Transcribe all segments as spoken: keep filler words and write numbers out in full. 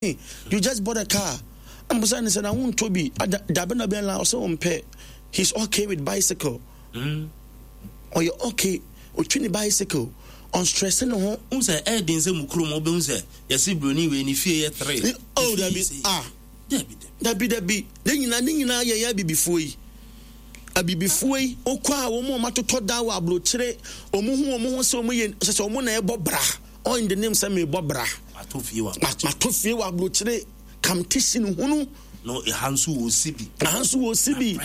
You just bought a car. I'm saying, sɛ na wontɔ bi dabe na bɛn la ɔsɛ wɔmpɛ. He's okay with bicycle. Mm. Ɔyɛ okay, ɔtwi ne bicycle, ɔnstress ne ho. N sɛ ɛɛden sɛ mu kurom wobɛhu sɛ yɛse buroni wei ne fie yɛ three. Oh, dabi, ah, dabi. Dabi, dabi. Ne nyinaa ne nyinaa yɛyɛ abibifoɔ yi abibifoɔ yi okɔ a, wɔn a wɔatotɔ dan wɔ aburokyire, wɔn ho wɔn ho sɛ wɔn yɛ sɛ sɛ wɔn na ɛbɔ bra. All in the name sɛ mebɔ bra. Mato fie wɔ mato fie wɔ aburokyire, kamtisi hunu. No, ɛha nso wɔ si bi. Ɛha nso wɔ si bi.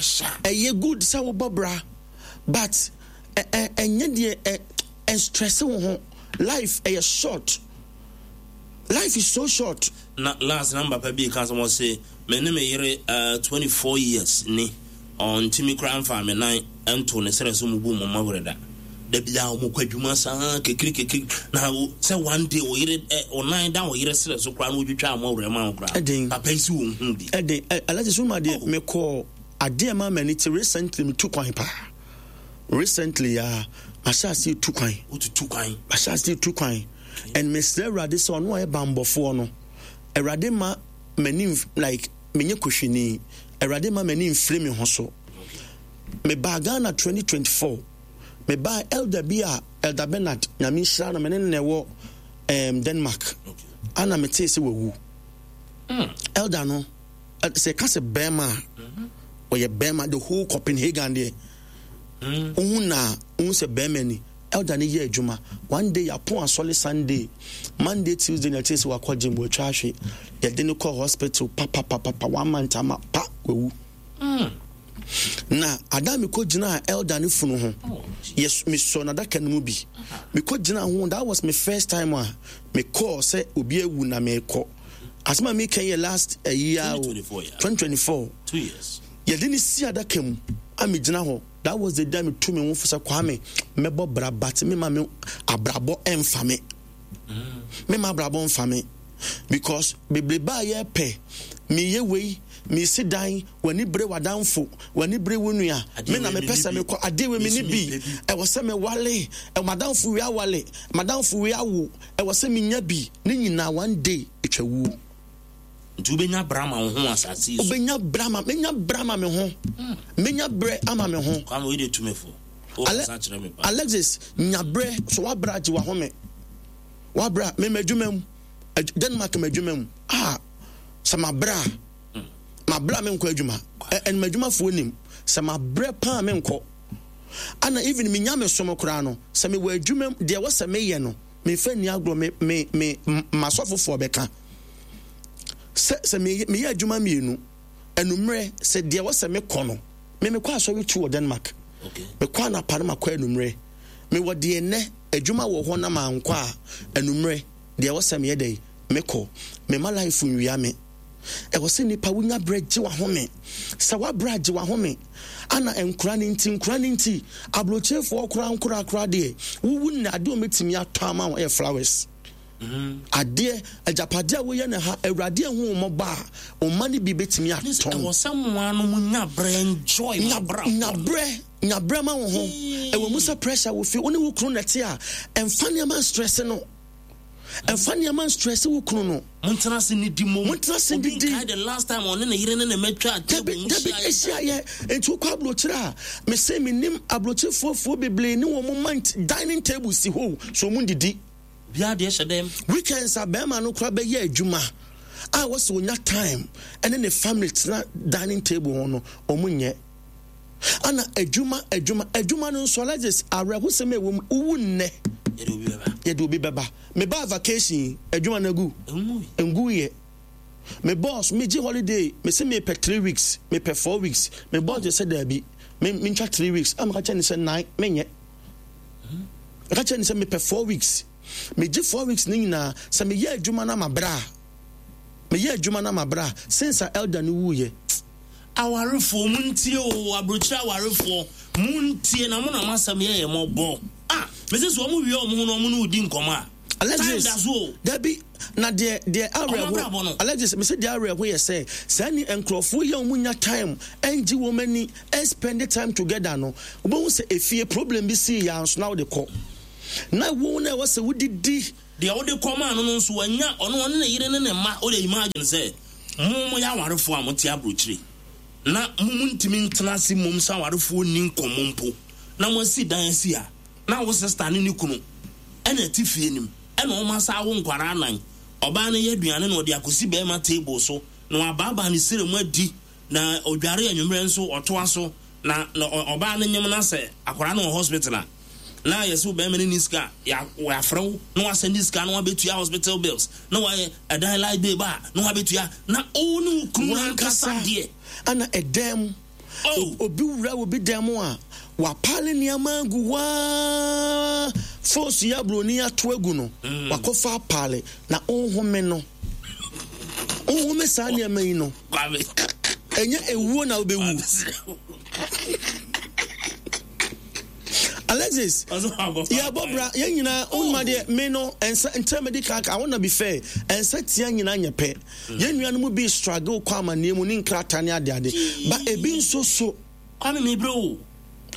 Ɛyɛ good sɛ wobɔ bra, but ɛ ɛnyɛ deɛ ɛ ɛnstress wo ho. Life ɛyɛ short, life is so short. Na last na papa bi ka sɛ wɔse me ne me yere uh, twenty-four years ni, ɔntumi koraa mfa me nan nto ne serɛ so mu bu mo mmawerɛ da. Da biaa ɔmokɔ adwuma saa kekiri kekiri, na wo sɛ one day wo yere ɛ wo nan da wo yere serɛ so koraa na wotwitwa mmɔwerɛ ma wo koraa. Ɛden. Papa yi si wɔn hu bi. Ɛden ɛ alagye so ma deɛ mekɔɔ adeɛ ma m'ani te. Recently metu kwan paa. Recently a mahyɛ ase tu kwan. Wotutu kwan? Mahyɛ ase tu kwan and mesrɛ Awurade sɛ ɔno a ɔyɛ bambɔfoɔ no, Awurade ma m'ani nf- like menyɛ kohwini. Awurade ma m'ani mfiri me ho so. Mebaa Ghana twenty twenty-four, mebaa elder bi a, Elder Bernard, Nyame nhyira no, mene no na ɛwɔ um, Denmark. okay. Ana metee sɛ wawu. Elder no, ɛ- sɛ ɛka sɛ bɛrima a, ɔyɛ bɛrima. The whole Copenhagen deɛ, wohu na wohu sɛ bɛrima ni. Elder no yɛ adwuma. One day yɛapɔn asɔre Sunday, Monday, Tuesday na ɛkyerɛ sɛ wakɔ gym, watwa ahwe. Yɛde no kɔ hospital papapapapa, one month ama pa wawu. Na ada mekɔ gyina elder no funu ho, yes, mesɔ n'adaka no mu bi, mekɔ gyina ho. That was my first time a mekɔɔ sɛ obi awu na mekɔ. Asɛm a meka yɛ last ayi a o. twenty twenty-four, yeah. twenty twenty-four. Two years. Yɛde ne si adaka mu a megyina hɔ, that was the day metu me ho fo sɛ, Kwame, mɛbɔ bra, but mema me abrabɔ ɛmfa me, mema abrabɔ mfa me, because bebrebe a yɛpɛ, meyɛ wei, mesi dan, w'ani bere w'adamfo, w'ani bere wo nua. Me na mepɛ sɛ mekɔ adeɛ wei, mene bi, ɛwɔ sɛ mewale, madamfo wei awale, madamfo wei awo, ɛwɔ sɛ menya bi. Ne nyinaa one day ɛtwa wuo. Nti wobɛnya bra ma wo ho asase yi so. Wobɛnya bra ma, menya bra ma me ho, menya berɛ ama me ho. Kwame, wei de tumi fo. Ale- wokasa kyerɛ me pa. Alexis, nya berɛ so. Wabrɛ agye wahome, wabrɛ a mema adwuma mu. Adw- denmark ma adwuma mu a, sɛ mabrɛ a, mabrɛ a menkɔ adwuma. Ɛ- ɛnum adwumafoɔ nim sɛ mabrɛ paa, menkɔ. Ana even menya me som koraa no, sɛ mewɔ adwuma mu deɛ, wɔ sɛ meyɛ no, memfa nni agorɔ. Me me me masɔfofoɔ bɛka sɛ sɛ meyɛ meyɛ adwuma mmienu anummerɛ, sɛ deɛ wɔ sɛ mekɔ no, me mekɔ asɔre tu wɔ Denmark. Okay. Mekɔ anapa no, makɔ anummerɛ. Mewɔ deɛ nnɛ adwuma wɔ hɔ na mankɔ a, anummerɛ deɛ ɛwɔ sɛ meyɛ dɛ mekɔ. Mema life nwia me. Ɛwɔ sɛ nipa wonya berɛ gye wahome. Sɛ woabrɛ agye wahome. Ana nkora no nti, nkora no nti, aburokyerefoɔ koraa nkorakora deɛ, wowu nna adeɛ a wɔbɛtumi atɔ ama wo ɛyɛ flowers. Adeɛ agyapadeɛ a woyɛ no ha, Awurade ahu wo mmɔbɔ a, ɔma no bi bɛtumi atɔn. Ɛwɔ sɛ mmoa no mu nya berɛ enjoy nya mabrabɔ. Nyabrɛ, nyabrɛ ma wo ho. Ɛwɔ mu sɛ pressure wɔ fie, wo ne wo kunu nɛte a, ɛmfa nneɛma stress no, ɛmfa nneɛma stress wo kunu no. Montena ase ne di mom. Montena ase Obi didi. nkae the last time ɔne ne yere ne ne mɛtwa dabi table dabi hyia. Ɛhyia yɛ nti wokɔ aburokyerɛ a, mese menim aburokyerefoɔfoɔ bebree ne wɔn ma nti dining table si hɔ so wɔn didi. Biaa deɛ hyɛ dɛm. Weekends a, bɛrima no koraa bɛyɛ adwuma a, wɔsɛ onya time ɛne ne family tena dining table ho no, wɔn nyɛ. Ana adwuma, adwuma, adwuma no nso, Alexis, awerɛhosɛm a ɛwɔ mu, wowu nnɛ, yɛde obi bɛba. Yɛde obi bɛba. Mebaa vacation yi, adwuma no agu. Ɛngu yi. Ngu yɛ. Me boss, megye holiday, mese mepɛ three weeks, mepɛ four weeks. Me boss de sɛ daabi, me mentwa three weeks. A meka kyerɛ ne sɛ nnan menyɛ. Meka kyerɛ ne sɛ mepɛ four weeks. Megye four weeks ne nyinaa sɛ meyɛ adwuma no ama berɛ a meyɛ adwuma no ama berɛ a since a elder no wuyɛ. Awarefoɔ, muntie o. Aburokyire awarefoɔ, muntie na mo na mo asɛm yɛ yɛ mɔbɔ. Ah, mese sɛ ɔmo wie ɔmo ho na ɔmo ne wo di nkɔmɔ a, time Alexis, da so o. Dabi, na deɛ deɛ Ɔmo abrabɔ no. awerɛho, Alexis, mese deɛ awerɛho yɛ sɛ saa ni nkurɔfoɔ yi a wɔn nya time ɛngye wɔn ani ɛnspend time together no, wobɛhu sɛ efie problem bi sii yɛ anso na wode kɔ. Na wo na ɛwɔ sɛ wodidi. Deɛ wode kɔmaa no no nso wanya, ɔno ɔne ne yere ne ne mma. Wode imagine sɛ mo moyɛ awarefoɔ a mote aburokyire na mo montumi ntena ase mmom sɛ awarefoɔ nni nkɔmmɔ mpo, na moasi dan asi ha, na wo sister ne ne kunu ɛna ɛte fie nim, ɛna wɔn asa awo nkwaraa anan. Ɔbaa no yɛ aduane na ɔde akɔsi bɛrima table so na wabaabaa ne sere mu adi, na odware anwummerɛ nso ɔtoa so, na na ɔbaa no nyem na sɛ akwaraa no wɔ hospital a, na yɛsɛ bɛrima no ni sika, yɛafrɛ wo na wasɛnde sika na wabɛtua hospital bills, na wayɛ ɛdan light bill ba na wabɛtua, na wo ne wo kunu ankasa deɛ. Ana ɛdan mu. Oh. Obi wura obi dan mu a wapale nneɛma agu waa, foosu yɛ aburoni ato agu no, wakɔfa apale na ɔnhome no, ɔnhome saa nneɛma yi no. Kwame. Ɛnyɛ ewuo na wobɛwu. Alexis, yɛbɔ bra yɛn nyinaa wonima deɛ me no ɛnsa nkyɛn medi kan I wanna be fair, ɛnsa tia nyinaa nyɛ pɛ. Yɛn nuanom bi struggle kɔ amanneɛ mu ne nkrataa ne adeade, ba ebi nso so. Kwame, mebrɛ o.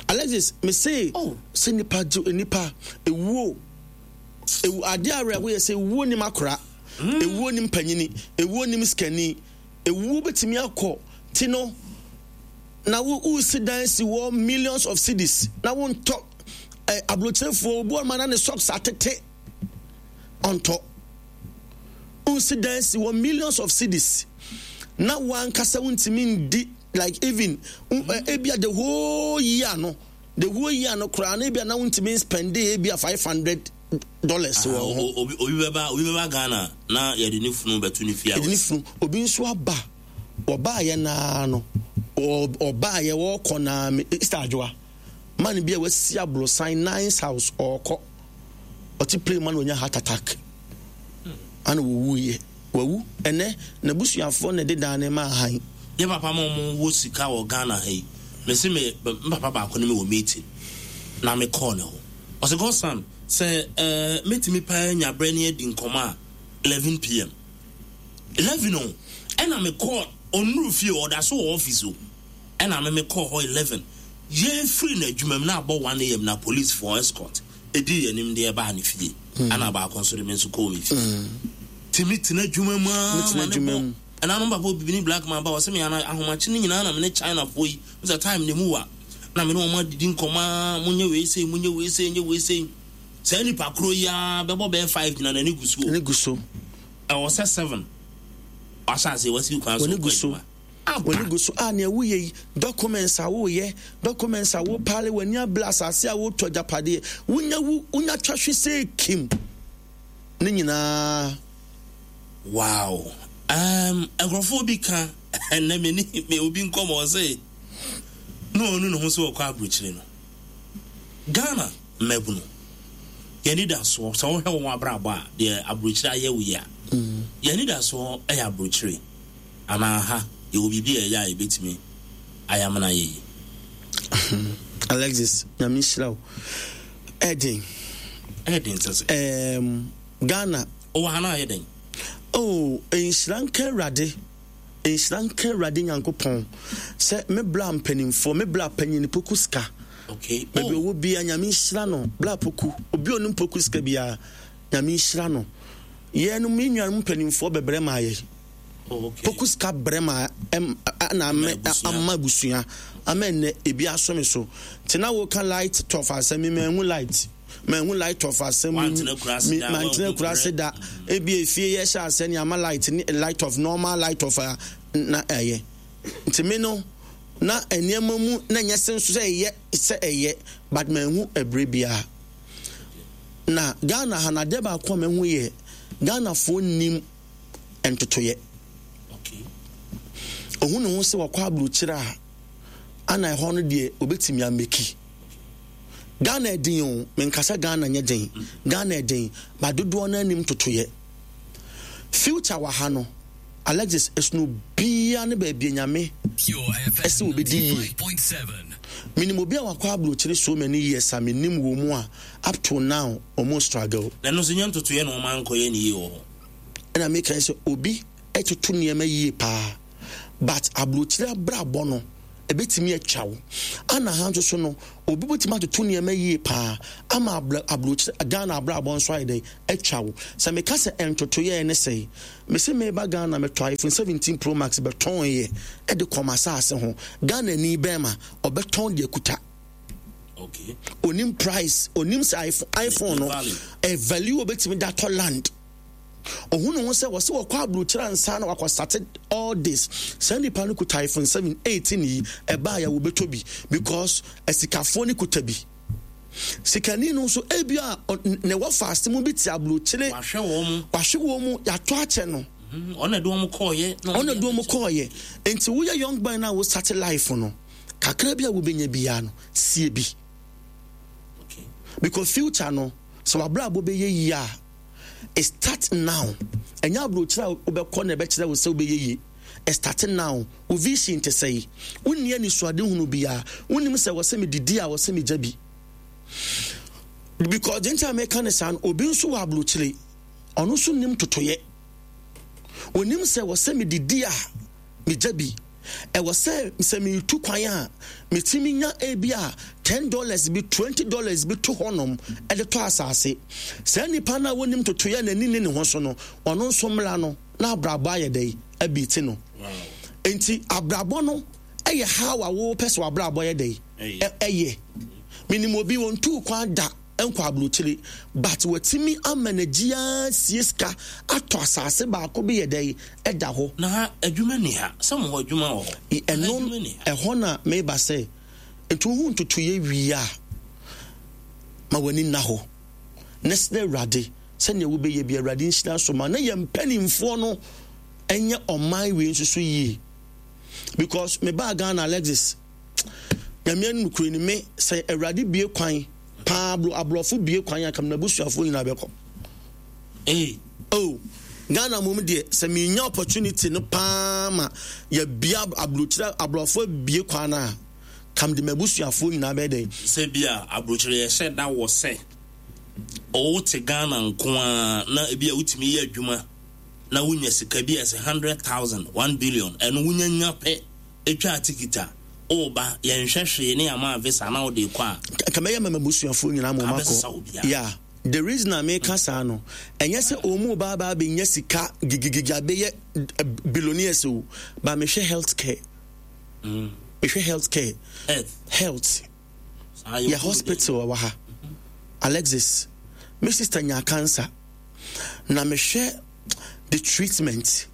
Alexis, me se Oh. sɛ nipa gye nipa ewuo, ewu adeɛ awerɛho yɛ sɛ ewuo nim akora, ewuo nim panyini, ewuo nim sikani, ewuo betumi akɔ ti no na wo wosi dan si wɔ millions of cedis na wontɔ ɛ aburokyerefoɔ obi wɔn ma na ne socks atete ɔntɔ. Wosi dan si wɔ millions of cedis na wankasa wontumi ndi, like even ɛ, ebia the whole year no, the whole year no koraa na ebia na wontumi spend ebia five hundred dollars wɔ ho. Obi obi bɛba obi bɛba Ghana na yɛde ne funu bɛto ne fie a. Yɛde ne funu. Obi nso aba, ɔbaayɛ naa no, ɔbaayɛ wɔkɔ naa me Easter adwoa man bi a wasi aborosan nice house, ɔkɔ ɔte plane mu na onya heart attack ana wɔwu yɛ wawu. Ɛnɛ n'abusuafoɔ na ɛde dan ne ma ahan. Yɛ papa ma ɔmo wɔ sika wɔ Ghana ha yi, mesi me me papa baako ne me wɔ meeting na me kɔɔ ne hɔ, ɔsɛ godson sɛ ɛɛ mɛtumi paa nya brɛ ne adi nkɔmɔ a eleven P M, eleven o, ɛna me kɔɔ ɔnuru fie, ɔda so wɔ office o, ɛna me me kɔɔ hɔ eleven. Yɛfiri n'adwuma mu na abɔ one A M na police for escort edi yɛn anim deɛ ɛbaa ne fie, ɛna baako nso de me nso kɔɔ me fie. Tìmi tena adwuma mu aa Metena ma ne adwuma bɔ mu. Ɛna no papa obibini black man ba, ɔsɛ me ana ahomakye ne nyinaa na me ne China foɔ yi sɛ time ne mu wa na me ne wɔn adidi nkɔmɔ a, monyɛ wei sei, monyɛ wei sei, nyɛ wei sei. Saa nipa koro yi ara bɛbɔ bɛyɛ five gyina n'ani gu so o. Ne gu so. Ɛwɔ sɛ seven wahyɛ ase wasi kwan so. Wɔne kɔ gu so. adwuma. Aba. Wɔne gu so a nea woyɛ yi, documents a woyɛ, documents a wopale, w'ani abere asase a wotɔ, agyapadeɛ wonya wu, wonya twa hwe sɛ kim ne nyinaa. Wow, um, nkurɔfoɔ bi ka ɛnɛ me ne me obi nkɔmɔ, ɔse na ɔnu ne ho sɛ ɔkɔ aburokyire no. Ghana mmabunu, yɛni da soɔ sɛ wohwɛ wɔn abrabɔ a, deɛ aburokyire ayɛ wo yi a, yɛni da soɔ ɛyɛ aburokyire anaa ha yɛwɔ biribi a ɛyɛ a yɛbɛtumi ayamena yɛ yi? Alexis, Nyame nhyira wo. Ɛden. Ɛyɛ den sɛ sɛ um, ghana ɔwɔ ha no ayɛ den. Oh, nhyira nka Awurade, nhyira nka Awurade Nyankopɔn sɛ me bla mpanimfoɔ, me bla panyin Poku sika okay baabi oh. ɔwɔ bia, Nyame nhyira no. Bla Poku, obi a ɔnim Poku sika biara, Nyame nhyira no. Yɛn no, me nuanom mpanimfoɔ bɛbrɛ ma yɛ. Oh, okay. Poku sika brɛ ma ɛm ɛna ama abusua. Ama abusua ama ɛnɛ ebi aso me so nti na woka light off asɛm mi, manhu light, manhu light off asɛm. Wantena kura mi da, mantena wanhu kura ase brɛ. Da ebi efie yɛ hyɛ asɛ ne ama light ne light off, normal light off a na ɛyɛ. Nti mi no na nneɛma mu na nyɛ se nso sɛ ɛyɛ sɛ ɛyɛ, but manhu ɛbrɛ biara. Na Ghana ha na adeɛ baako a mahu yɛ Ghanafoɔ nim ntotoyɛ. Okay ohun ne ho sɛ wakɔ aburokyire a ana ɛhɔ no deɛ obetumi ameki. Ghana ɛden o, menkasa Ghana nyɛ den, Ghana ɛden ba dodoɔ no anim totoyɛ. Future wɔ ha no, Alexis, ɛsono biara ne baabi Nyame ɛsɛ obɛdi yie. Menim obi a wakɔ aburokyire so many years a menim wɔ mu a up to now ɔmo struggle. Na ɛno nso nyɛ ntotoyɛ na ɔma nkɔyɛ ne yie wɔ hɔ. Ɛna meka sɛ obi ɛtoto nneɛma yie paa, but aburokyire abrabɔ no Ɛbɛtumi atwa wo. Ana ha nso so no, obi bɛtumi atoto nneɛma yie paa ama aburokyire Ghana abrabɔ nso ayɛ dɛ atwa wo. Sɛ meka sɛ ntotoyɛ ne sɛe, mese meba Ghana metɔ iPhone seventeen Pro Max bɛtɔn yɛ ɛde kɔm asase ho. Ghana ni bɛrima ɔbɛtɔn deɛ kuta. Okay. Onim price, onim sɛ iPhone, iPhone no ɛ value obɛtumi da tɔ land. Ohun ne ho sɛ wɔsɛ wɔkɔ aburokyire ansa na wakɔ start all this. Saa nipa no kuta iPhone seven eighteen yi, ɛbaa yɛ wɔbɛtɔ bi because asikafoɔ no kuta bi. Sikani no nso ebi a ne wɔ faase mu bi te aburokyire. Wahwɛ wɔn mu. Wahwɛ wɔn mu, yɛato akyɛ no. Ɔna de wɔn kɔɔyɛ. Ɔna de wɔn kɔɔyɛ. Nti woyɛ young boy na wo start life no, kakra bi a wobɛnya biara no, sie bi. Okay. Because future no, sɛ wabrabɔ bɛyɛ yie a, it start now. Ɛnyɛ aburokyire a wobɛkɔ na ɛbɛkyerɛ wo sɛ wobɛyɛ yie. It start now. Wo vision te sɛ yi. Wonni anisoade hunu biara. Wonim sɛ wɔ sɛ medidi a wɔ sɛ megya bi. Because deɛ nti a meka ne saa no, obi nso wɔ aburokyire. Ɔno nso nim totoyɛ. Onim sɛ wɔ sɛ medidi a megya bi. Ɛwɔ sɛ sɛ meretu kwan a metumi nya ebi a ten dollars bi, twenty dollars bi to hɔnom ɛde tɔ asase. Saa nipa no a wɔnim totoyɛ n'ani ne ne ho so no, ɔno nso mmra no na abrabɔ ayɛ dɛ abi ti no. Nti abrabɔ no ɛyɛ how a wɔpɛ sɛ abrabɔ yɛ dɛ ɛyɛ. Menim obi wɔntuu kwan da nkɔ aburokyire, but watumi ama n'agyi sie sika atɔ asase baako bi yɛ dɛ ɛda hɔ. Na ha adwuma ni ha, sɛ mo hɔ adwuma wɔ hɔ. Ɛno ɛhɔ na meba sɛ nti wohu ntotoyɛ wie a ma w'ani nna hɔ na srɛ Awurade sɛnea wobɛyɛ bi. Awurade nhyira so ma na yɛn mpanimfoɔ no ɛnyɛ ɔman wei nso so yie, because mebaa Ghana, Alexis, Nyame anim kure ni, me sɛ Awurade bie kwan paa, aborɔfo bie kwan a kam n'abusuafoɔ nyinaa bɛkɔ. Ee. Oh, Ghana mom deɛ, sɛ menya opportunity no paa ma yɛbia aburokyerɛ, aborɔfo bie kwan no a, kam de m'abusuafoɔ nyinaa bɛyɛ dɛn. Sɛ bi a aburokyerɛ yɛhyɛ da wɔ sɛ ɔwote Ghana nko a na ebi a wotumi yɛ adwuma na wonya sika bi a ɛsɛ hundred thousand, one billion, ɛno wonya nya pɛ etwa ticket a ɔba, yɛnhwɛ hwee ne ama visa na wode kɔ a. Ka mɛyɛ ma m'abusuafoɔ nyinaa ma ɔmakɔ. Yeah, the reason a meka saa no, ɛnyɛ sɛ ɔmu ba ba abɛnya sika gigigigi abɛyɛ billionaires o, ba mehwɛ health care, mm. mehwɛ health care, health yɛ hospital wɔ ha. Alexis, me sister nya cancer na mehwɛ the treatment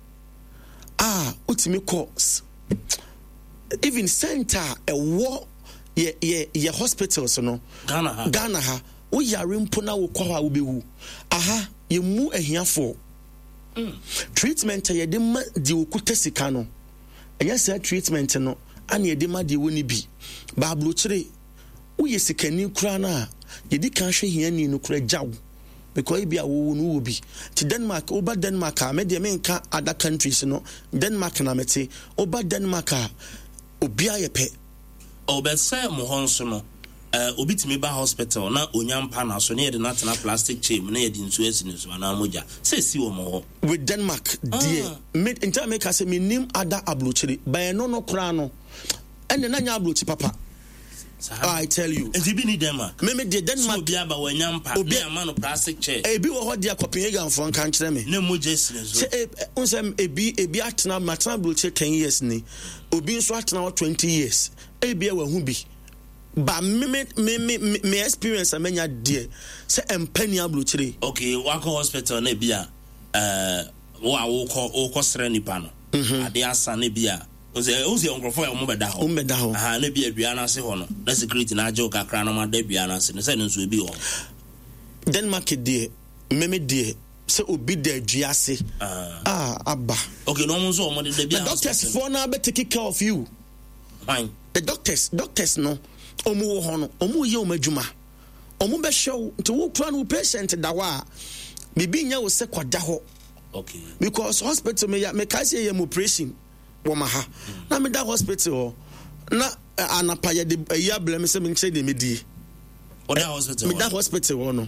a wotumi kɔ, even center a ɛwɔ yɛ yɛ yɛ hospitals no. Ghana ha. Ghana ha, woyare mpo na wokɔ hɔ a, wobɛwu. Aha yɛmu ahiafoɔ mm. Treatment a yɛde ma deɛ okuta sika no, ɛnyɛ saa treatment no ana yɛde ma deɛ wɔ ne bi. Baaburokyire, woyɛ sikani koraa no a, yɛdi kan hwɛ hiani no koraa gya wo, because ebi a wɔwɔ no wɔ bi te Denmark. Woba Denmark a, me deɛ menka other countries no, Denmark na mete. Woba Denmark a, obiara yɛ pɛ. Ɔbɛsɛ mo hɔ nso no, uh, obi tumi ba hospital na onya mpa na so ne yɛde no atena plastic chair mu na yɛde nsuo asi ne so anaa mogya sɛ esi wɔ mo hɔ? With Denmark deɛ, me nti a meka sɛ menim ada aburokyire bɛn no no koraa no, ɛnna na nyɛ aburokyi papa. I tell you. Nti bi ni Denmark? Me me deɛ, Denmark. So obi aba wanya mpa obi ama no plastic chair. Ebi wɔ hɔ deɛ, Copenhagen fo nka nkyerɛ me. Ne mogya si ne so. Sɛ e n sɛ ebi ebi atena, matena aburokyire ten years ni, obi nso atena hɔ twenty years, ebi a wahu bi ba. Me me me me me experience a menya deɛ sɛ mpa ni aburokyire. Okay, wakɔ hospital na ebi a ɛɛ wo a wokɔ wokɔ srɛ nipa no. Ade asa na ebi a sɛ o sɛ nkurɔfoɔ a wɔn bɛda hɔ. Wɔn bɛda hɔ. Aha, na ebi adua n'ase hɔ no na security na agye wo kakra na wɔn ada dua n'ase no sɛ no nso ebi wɔ hɔ. Denmark deɛ, mmɛmɛ deɛ, sɛ obi da dua ase a aba. Okay, na wɔn nso wɔn de da bi a. The doctors foɔ na bɛ take care of you. Hwan? The doctors doctors no, wɔn wɔ hɔ no, wɔn yɛ wɔn adwuma, wɔn bɛhwɛ wo. Nti wo kura no, wo patient da hɔ a, biribi nyɛ wo sɛ kɔda hɔ. Okay. Because hospital me ya me ka sɛ yɛ mo operation wɔ ma ha na meda hospital hɔ na anapa yɛde ayi abrɛ me sɛ menkyerɛ deɛ medie. Ɔda hospital? Meda hospital hɔ no,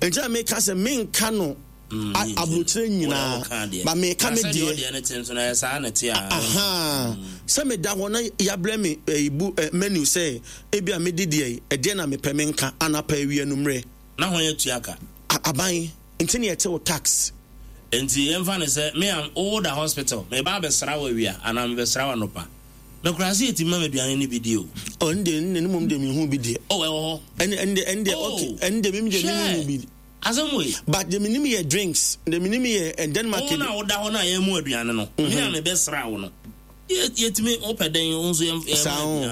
nti a meka sɛ menka no. Mm, Aburokyerɛ nyinaa ba meka me deɛ. Aha, sɛ meda hɔ na yɛabrɛ me bu menu sɛ ebi a medi deɛ, ɛdeɛ na mepɛ menka anapa, awia, nummerɛ. Na hɔn atua ka? Aban nti ne yɛte wo tax. Nti yɛmfa no sɛ me a wowo da hospital, meba abɛsra wo awia anaa mebɛsra wo anɔpa, mekora sɛ yɛtumi ma me aduane no bi di o? Ɔno deɛ, ne mmom deɛ mehu bi deɛ. Oh, ɛwɔ hɔ. ɛne ɛne ɛne deɛ, okay, ɛne deɛ mem deɛ mehu bi. Asɛm wei. But deɛ menim yɛ drinks, deɛ menim yɛ Denmark. Wo na woda hɔ no a yɛmu aduane no, me a mebɛsra wo no, yɛtumi wopɛ dɛn, wo nso yɛm saa ho.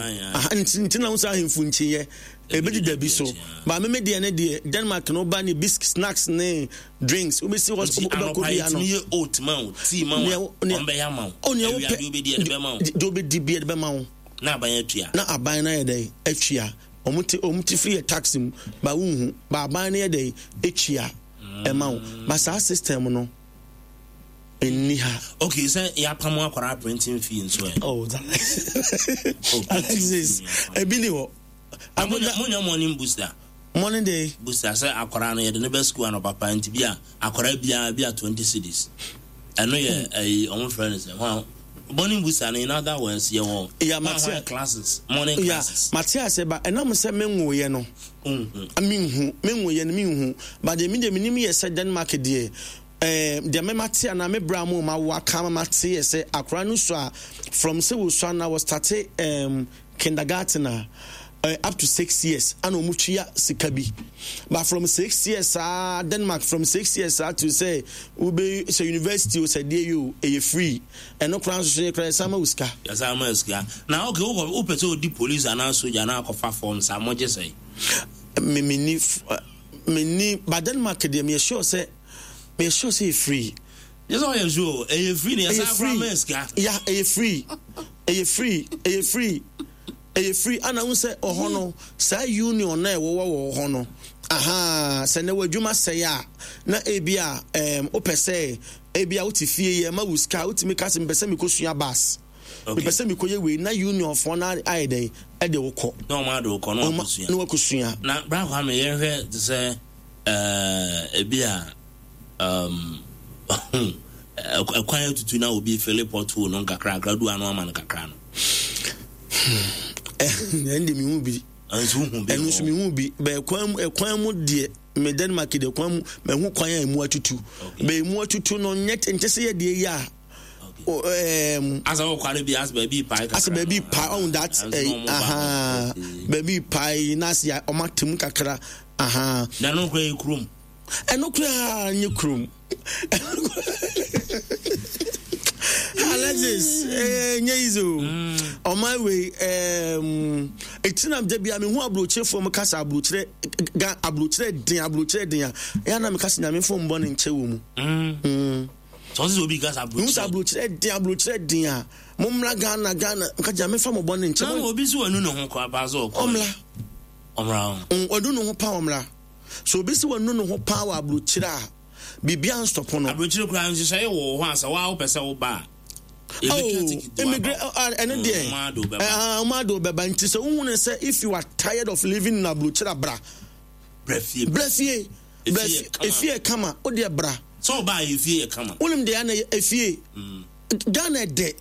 Nti na wo sɛ ahemfo nkyiyɛ ebi deda bi so ba meme deɛ ne deɛ Denmark no ba ne biscuit, snacks ne drinks wobɛsi hɔ, wobɛkɔ bia no. Yɛ oat ma wo, tea ma wo, ɔmbɛyɛ ama wo. Oh, nea wopɛ deɛ wobɛdi yɛde bɛma wo. Deɛ wobɛdi bi yɛde bɛma wo. Na aban atua. Na aban no ayɛ dɛn atua? Ɔmo te ɔmo te firi yɛ tax mu ba, wohu ba aban no yɛ dɛn atua ɛma wo ba. Saa system no ɛnni ha. Okay, sɛ yɛapam akwaraa printing fee nso ɛ? Oh, Alexis, ebi ni hɔ. Monya morning booster? Morning day. Booster sɛ akwaraa no yɛde no bɛ school anɔpapa, nti bi a akwaraa biara bi a twenty cedis. Ɛno yɛ ɛyi, ɔmo frɛ no sɛ hwan, morning booster no. In other words, yɛwɔ Yeah, hwan classes, morning yeah, classes. Mate ase ba ɛnam sɛ menwoyɛ no, menhu menwoyɛ no, menhu ba deɛ me deɛ menim yɛ sɛ Denmark deɛ, ɛɛ deɛ mɛma te anaa me bra mu ma wo aka ma te yɛ sɛ akwaraa no so a, from sɛ wosua na wɔ start um, kindergarten a, uh, up to six years ana ɔmo tua sika bi, but from six years saa, Denmark, from six years saa to sɛ wobe sɛ university o, sɛ deɛ yi o, ɛyɛ free. Ɛno koraa nso so yɛ koraa yɛsan ma wo sika. Yɛsan ma sika na okay, wokɔ wopɛ sɛ odi police anaa soja anaa akɔfa form saa, mogye sɛ? Me me ni me ni ba Denmark deɛ, me yɛ sure sɛ me yɛ sure sɛ yɛ free. Yɛ sɛ ɔyɛ sure ɛyɛ free na yɛsan koraa ma sika. Ya, ɛyɛ free, ɛyɛ free, ɛyɛ free, ɛyɛ free. Ana n sɛ ɔhɔ no saa union na ɛwɔwɔ wɔ hɔ no, aha, sɛ na w'adwuma sɛe a, na ebi a ɛɛm wopɛ sɛ ebi a wote fie yɛ ma wo sika, wotumi ka sɛ mepɛ sɛ mekɔ bus, mepɛ sɛ mekɔ yɛ wei, na union foɔ no ayɛ dɛn ɛde wo kɔ. Na ɔmo ade wo kɔ na wakɔsua. Na wakɔsua. Na bra Kwame, yɛnhwɛ te sɛ ɛɛ ebi a um, ɛkwan atutu na obi fill pothole no nkakrakra du ano ama no kakra no. Ɛn de mehu bi. Ɛnso wohu bi? Ɛno nso mehu bi bɛɛ kwan mu, ɛkwan mu deɛ, me Denmark deɛ, kwan mu mahu kwan a emu atutu bɛɛ, emu atutu no nyɛ nkyɛ sɛ yɛ deɛ yi a um, asa wɔ kwan bi asa baabi pae kakra. Asa baabi pae ɔn that ɛy aha, baabi pae na ase ɔmo atem kakra aha. Na no kora yɛ kurom? Ɛno koraa nye kurom, Alexis, eh, nye easy o. Ɔman wei eti na da bia mehu aburokyerefoɔ mu kasa aburokyerɛ ga, aburokyerɛ den, aburokyerɛ den a ɛyɛ na meka sɛ Nyame fo mbɔ ne nkyɛ wɔ mu. Sɛ ɔsɛ obi kasa mehu sɛ aburokyerɛ den, aburokyerɛ den a, mommra Ghana, Ghana nka Nyame fa mɔbɔ ne nkyɛ. Na obi so wanu ne ho kora paa sɛ ɔkɔ. Ɔmmra. Ɔmmra ho. Wanu ne ho pa, ɔmmra. So obi sɛ wanu ne ho paa wɔ aburokyerɛ a, biribia nstɔpo no. Aburokyerɛ koraa nhyehyɛeɛ wɔ hɔ a sɛ waa wopɛ sɛ woba a, immigrant ɛno deɛ ɔmo ade bɛba. Nti sɛ wohu ne sɛ if you are tired of living in aburokyerɛ, bra. Bra fie. Bra fie, bra efie kama o deɛ, bra. Sɛ ɔbaa efie yɛ kama. Wonim deɛ ana efie Ghana dɛ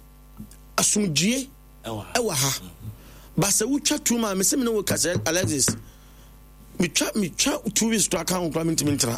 asomdwie ɛwɔ ha ba sɛ wotwa tu ma me sɛ me ne wo kasa, Alexis, metwa metwa two weeks kora ka ho kora mentumi ntena.